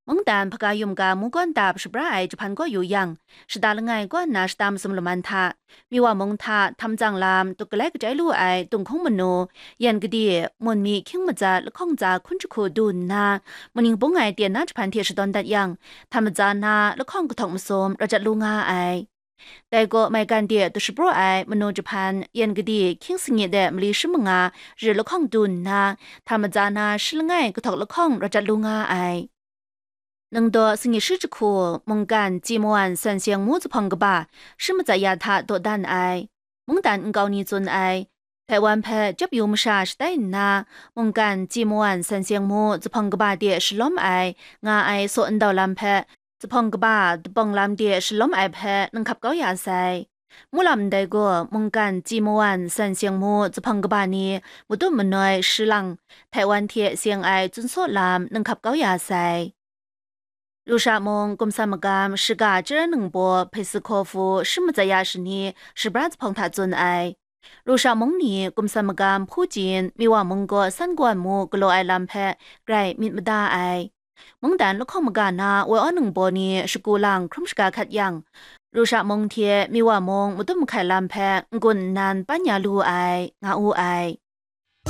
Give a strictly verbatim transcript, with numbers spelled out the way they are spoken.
Mungdan hpaga yum ga mungkawn dap shabra ai jahpan kaw yu yang, shada langai kaw nna shata masum laman hta, Miwa mung hta htam tsang lam tuk galai kachai lu ai tunghkung manu, yan gade, mun mi hkying matsat lahkawng tsa hkun jahku du nna, maning bung ai ten na jahpan hte shadawn dat yang, htam matsa na lahkawng kahtawk masum rawt jat lu nga ai. Dai gaw maigan de dushapraw ai manu jahpan yan gade hkying sangi de mali shi manga rit lahkawng du nna, htam matsa na shi langai kahtawk lahkawng rawt jat lu nga ai. Ningdaw sangi shi jahku, mungkan Tsi Mawan San Seng Mu zuphpawng kaba shi matsat ya hta dawdan ai. Mungdan nkau ni tsun ai, Taiwan hpe chyap yu masha shatai nna, mungkan Tsi Mawan San Seng Mu zuphpawng kaba de shalawm ai, nga ai saw ndau lam hpe, zuphpawng kaba dabawng lam de shalawm ai hpe ninghkap kau ya sai. Mulam ndai gaw mungkan Tsi Mawan San Seng Mu zuphpawng kaba ni matum manoi shi lang, Taiwan hte seng ai tsun saw lam ninghkap kau ya sai. Lusha mung kumsan magam shiga chyaran ningbaw hpe si hkaw hpu shi matsat ya shani shabra zuphpawng hta tsun ai. Lusha mung ni kumsan magam hpu jin Miwa mung gaw san kawan mu galaw ai lam hpe grai myit mada ai. Mungdan lahkawng maga na woi aw ningbaw ni shagu lang hkrum shaga hkat yang, Lusha mung hte Miwa mung madum mahkai lam hpe n-gun nnan pan ya lu ai, nga wu ai.